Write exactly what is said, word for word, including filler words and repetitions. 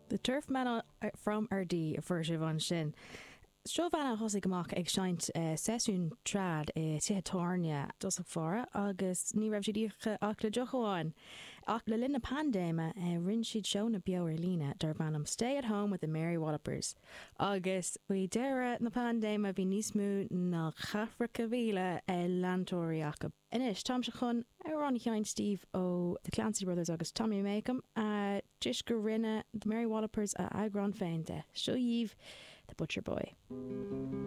The Turfman from Ardee a fuair sibh ansin. Seo banna a thosaigh amach ag seinnt uh, seisiún trad i tithe tábhairne i dtosach báire agus ní raibh siad íoctha ach le deoch amháin. Ach le linn na paindéime uh, rinne siad seónna beo ar líne darb ainm Stay at Home with the Mary Wallopers. Agus faoi dheireadh na paindéime bhí níos mó ná ceathracha míle leantóirí acu. Anois táimse chun amhrán a sheinnt daoibh ó The Clancy Brothers agus Tommy Makem uh, toisc gur rinne the Mary Wallopers a eagrán féin de. Seo daoibh The Butcher Boy.